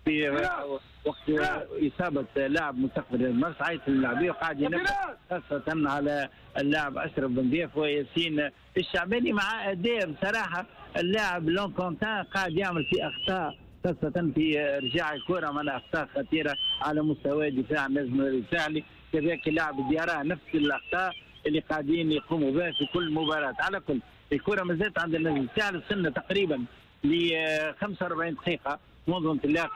في وقت اصابه لاعب مستقبل المرسى، عيط للاعبين وقاعد ينبه خاصة على اللاعب اشرف بن ضيف وياسين الشعباني، مع اداء بصراحة اللاعب لون كونتان قاعد يعمل في اخطاء خاصة في ارجاع الكره، معناها اخطاء خطيرة على مستوى دفاع النجم الساحلي، كذلك اللاعب ديارة نفس الاخطاء اللي قاعدين يقوموا بها في كل مباراة. على كل الكره ما زالت عند النجم الساحلي، وصلنا تقريبا ل 45 دقيقة منذ انطلاق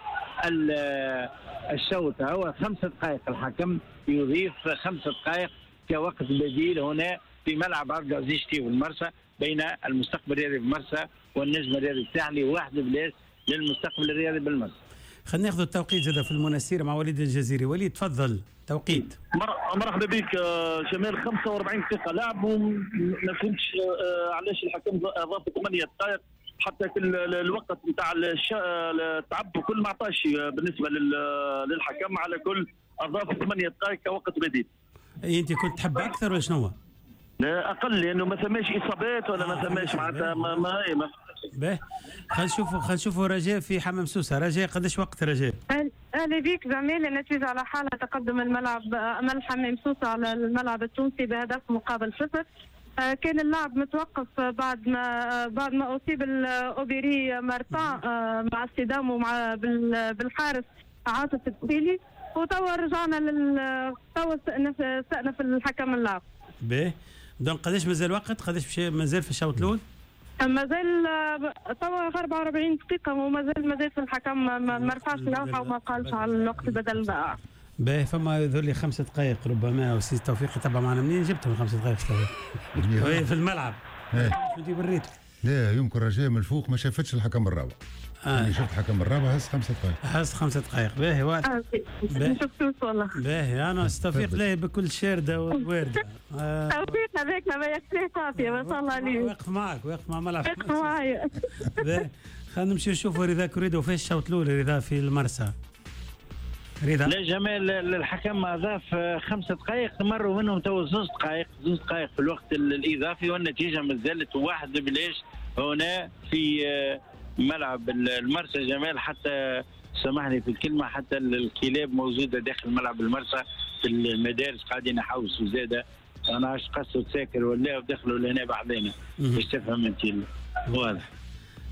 الشوط، هو 5 دقائق، الحكم يضيف 5 دقائق كوقت بديل هنا في ملعب عبد العزيز شتيو المرسى بين المستقبل الرياضي بالمرسى والنجم الرياضي الساحلي، 1-0 للمستقبل الرياضي بالمرسى. خلينا ناخذ التوقيت زاد في المنستير مع وليد الجزيري. وليد تفضل توقيت. مرحبا بك جمال. 45 دقيقة لعب وما فهمتش علاش الحكم اضاف 8 دقائق حتى في الوقت نتاع التعب وكل ما عطاش بالنسبة للحكم. على كل اضاف 8 دقائق كوقت بديل. انت كنت تحب اكثر ولا شنو؟ لا اقل، لانه ما ثماش اصابات ولا ما ثماش معناتها ما باهي. خلينا نشوفوا رجاء في حمام سوسة. رجاء قداش وقت رجاء؟ اهلا بك زميل. النتيجة على حالها، تقدم الملعب امل حمام سوسة على الملعب التونسي بهدف مقابل 0. كان اللعب متوقف بعد ما اصيب الاوبيري مارتان مع الصدام ومع بالحارس عاطف التسيلي، وتوا رجعنا توا استأنف الحكم اللعب. باهي donc قداش مازال وقت؟ قداش مازال في الشوط الاول؟ مازال توا 44 دقيقة ومازال في الحكم ما رفعش اللوحة وما قالش على الوقت بدل ضائع. باهي فما يظهر لي 5 دقائق ربما، وسي توفيق يتبع معنا. منين جبتهم 5 دقائق توفيق؟ في الملعب. شو بريته؟ لا يمكن رجاء من الفوق ما شافتش الحكم الرابع. يعني شفت الحكم الرابع هز 5 دقائق. هز 5 دقائق. باهي واضح. ما شفتوش والله. باهي انا توفيق لا بكل شارده ووارده. توفيق هذاك ما يكفيه صافية ما شاء الله عليه. واقف معك، واقف مع ملعب. واقف معايا. باهي خلينا نمشي نشوفوا رضا كريدو فاش الشوط الاول. رضا في المرسى. رضا. لا جمال الحكم اضاف 5 دقائق مروا منهم تو 2 دقائق، 2 دقائق في الوقت الاضافي، والنتيجة ما زالت 1-0 هنا في ملعب المرسى. جمال حتى سامحني في الكلمة، حتى الكلاب موجودة داخل ملعب المرسى في المدارس قاعدين يحوسوا زاده، انا عاش قصوا تساكر ولا ودخلوا لهنا بعضنا باش تفهم انت واضح.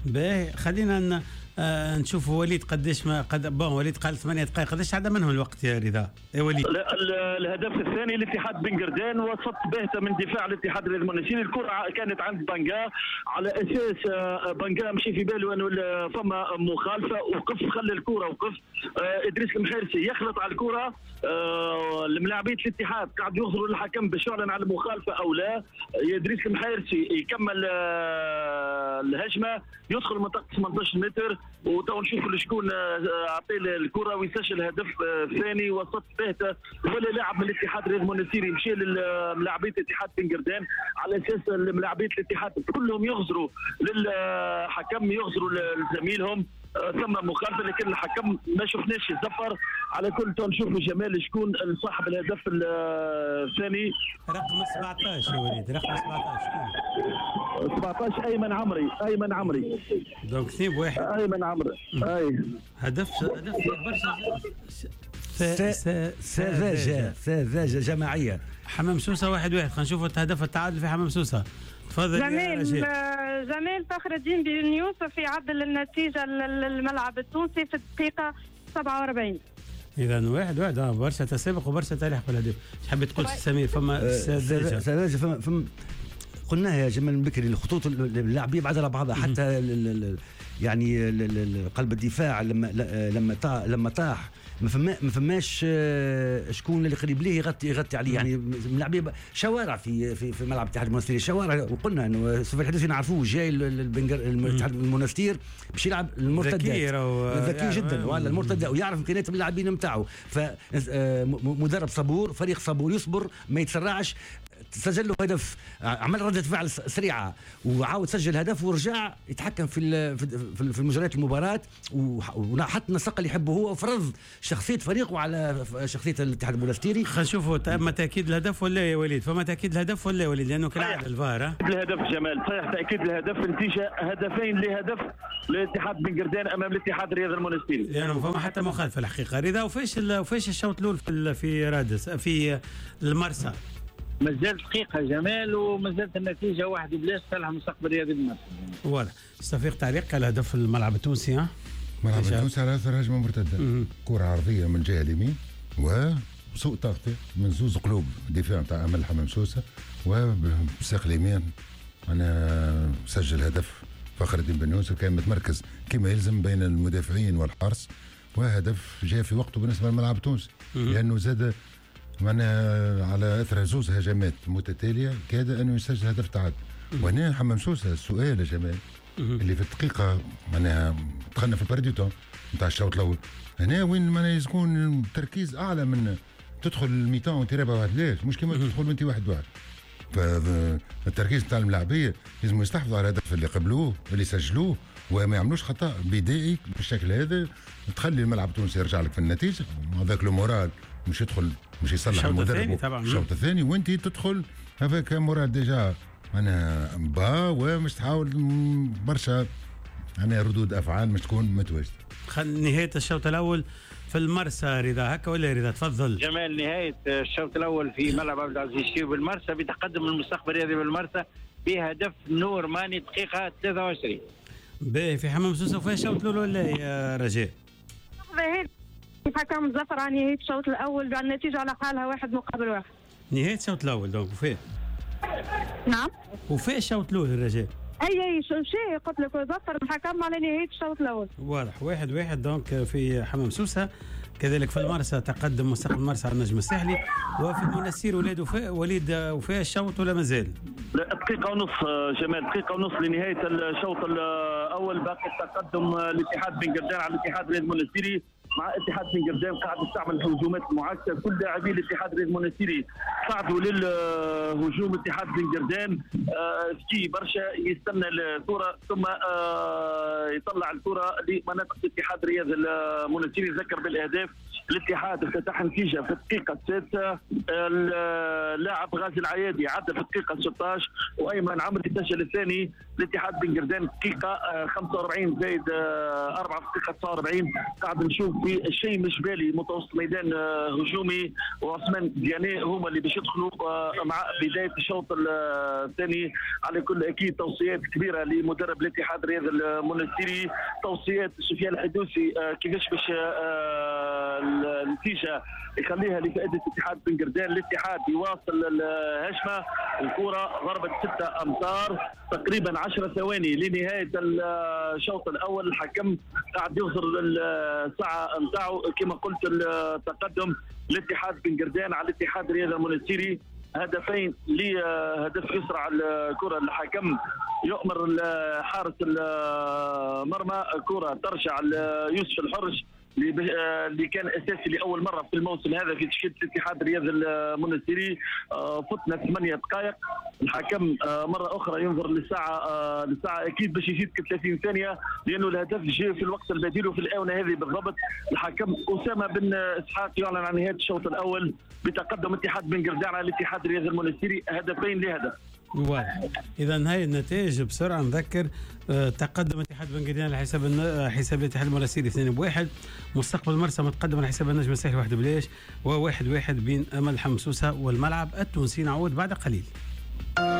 باهي خلينا نشوفوا وليد قداش ما قد bon وليد قال 8 دقائق، قداش عدا منهم الوقت يا رضا؟ يا وليد. الهدف الثاني لاتحاد بن قردان، وسط باهته من دفاع الاتحاد المونستيري. الكره كانت عند بانجا، على اساس بانجا مشي في باله انه فما مخالفة، وقف خلى الكره وقف. ادريس المحيرسي يخلط على الكره، الملاعبيه الاتحاد قاعد يغزروا للحكم باش يعلن على المخالفة او لا. ادريس المحيرسي يكمل الهجمة، يدخل منطقة 18 متر، وتو نشوفوا شكون عطية الكره ويسجل هدف ثاني. وسط باهته ولا لاعب من الاتحاد الرياضي المونستيري مشى لملاعبيه الاتحاد بن قردان، على اساس ملاعبيه الاتحاد كلهم يغزروا للحكم، يغزروا لزميلهم، ثم مخالفة لكن الحكم ما شفناش الزفر. على كل تو نشوفوا جمال شكون صاحب الهدف الثاني. رقم 17 يا وليد، رقم 17 17 ايمن عمري، ايمن عمري. donc 2-1 ايمن عمري. اي هدف برشا سذاجة سذاجة جماعية. حمام سوسة 1-1. خلينا نشوفوا هدف التعادل في حمام سوسة. تفضل جمال فخر الدين بن يوسف يعدل النتيجة للملعب التونسي في الدقيقة 47. اذا 1-1. برشا تسابق وبرشا تلاحق بالهدف. اش حبيت تقول سمير؟ فما سذاجة فما قلناها يا جمال بكري، الخطوط اللاعبيه بعد على بعضها، حتى يعني قلب الدفاع لما طاح ما فماش شكون اللي قريب ليه يغطي عليه، يعني ملاعبيه شوارع في في في ملعب الاتحاد المونستيري شوارع. وقلنا انه سوف الحديث نعرفوه جاي الاتحاد المونستير باش يلعب المرتدات، ذكي جدا ولا المرتدة، ويعرف امكانيات اللاعبين نتاعو. فمدرب صبور، فريق صبور، يصبر ما يتسرعش. سجل له هدف، عمل ردة فعل سريعة وعاود سجل هدف ورجع يتحكم في في مجريات المباراة وحط النسق اللي يحبه هو وفرض شخصية فريقه على شخصية الاتحاد المونستيري. خلينا نشوفوا تم تاكيد الهدف ولا يا وليد؟ فما تاكيد الهدف ولا يا وليد؟ لانه كالعادة الفار. الهدف جمال، صحيح تاكيد الهدف، نتيجة 2-2 للاتحاد بن قردان امام الاتحاد الرياضي المونستيري، لانه فما حتى مخالفة الحقيقة. رضا، وفاش الشوط الاول في رادس في المرسى؟ مازال دقيقة جمال ومازالت النتيجة 1-0 صالح مستقبل رياضي المرسى. واضح. توفيق، تعليق على هدف الملعب التونسي؟ ها الملعب التونسي على اثر هجمة مرتدة، كره عرضية من الجهة اليمين وسوء تغطيه من زوز قلوب دفاع نتاع امل حمام سوسة، وبساق اليمين انا سجل هدف فخر الدين بن يوسف، كان متمركز كما يلزم بين المدافعين والحارس، وهدف جاء في وقته بالنسبة للملعب التونسي، لانه زاد معناها على اثر زوز هجمات متتالية كاد انه يسجل هدف تعادل. وهنا حمام سوسة السؤال يا جمال اللي في الدقيقة معناها دخلنا في ال perte de temps نتاع الشوط الاول، هنا وين معناها يكون التركيز اعلى من تدخل ال mi-temps وانت رابع 1-0، مش كيما تدخل وانت 1-1. فالتركيز نتاع الملاعبيه لازم يستحفظوا على الهدف اللي قبلوه اللي سجلوه وما يعملوش خطا بدائي بالشكل هذا تخلي الملعب التونسي يرجع لك في النتيجة، هذاك le moral مش يدخل مش يصلح المدرب الشوط الثاني، وانت تدخل avec moral déjà انا bas ومش تحاول برشا انا ردود افعال مش تكون متواجدة. نهاية الشوط الاول في المرسى رضا، هكا ولا رضا؟ تفضل جمال. نهاية الشوط الاول في ملعب عبد العزيز الشيبي بالمرسى بتقدم المستقبل الرياضي بالمرسى بهدف نور ماني دقيقة 23. باهي، في حمام سوسة وفيها الشوط الاول ولا يا رجاء؟ الحكم زفر عن نهاية الشوط الاول بالنتيجة على حالها 1-1. نهاية الشوط الاول donc وفيه. نعم وفيه الشوط الاول الرجاء. اي شيء قلت لك زفر الحكم على نهاية الشوط الاول. واضح 1-1 donc في حمام سوسة. كذلك في المرسى تقدم مستقبل المرسى على النجم الساحلي، وفي المنستير وليد وفاء الشوط ولا مازال؟ دقيقة ونص جمال، دقيقة ونص لنهاية الشوط الأول. باقي التقدم الاتحاد بن قردان على الاتحاد الرياضي المونستيري. مع اتحاد بن قردان قاعد يستعمل الهجومات المعاكسة، كل لاعبي الاتحاد الرياضي المونستيري صعدوا للهجوم. اتحاد بن قردان ذكي برشا، يستنى الكره ثم يطلع الكره لمناطق الاتحاد الرياضي المونستيري. ذكر بالاهداف، الاتحاد افتتح نتيجة في الدقيقة 6، اللاعب غازي العيادي عدى في الدقيقة 16، وايمن عمري سجل الثاني. الاتحاد بن قردان دقيقة 45 زائد 4 في الدقيقة 49. قاعد نشوف في الشيء مش بالي متوسط ميدان هجومي وعثمان دياني هما اللي باش يدخلوا مع بداية الشوط الثاني. على كل اكيد توصيات كبيرة لمدرب الاتحاد الرياضي المونستيري، توصيات سفيان الحدوسي كيفاش باش النتيجة يخليها لفائدة اتحاد بن قردان. الاتحاد يواصل الهجمة، الكره ضربت 6 امتار تقريبا 10 ثواني لنهاية الشوط الاول. الحكم قاعد يغزر الساعة نتاعو. كما قلت التقدم الاتحاد بن قردان على الاتحاد الرياضي المونستيري 2 لهدف. يسرع الكره الحكم يؤمر حارس المرمى، كره ترجع ليوسف الحرش اللي كان اساسي لاول مرة في الموسم هذا في تشكيله الاتحاد الرياضي المونستيري. فتنا 8 دقائق، الحكم مرة اخرى ينظر للساعة اكيد باش يزيد 30 ثانية لانه الهدف جاء في الوقت البديل وفي الاونة هذه بالضبط. الحكم اسامة بن اسحاق يعلن عن نهاية الشوط الاول بتقدم اتحاد بن قردان على الاتحاد الرياضي المونستيري 2-2. واضح. اذا هاي النتائج بسرعة نذكر: تقدم اتحاد بن قردان على حساب الاتحاد المونستيري 2-1، مستقبل المرسى متقدم على حساب النجم الساحلي 1-0، و1-1 بين امل حمام سوسة والملعب التونسي. نعود بعد قليل.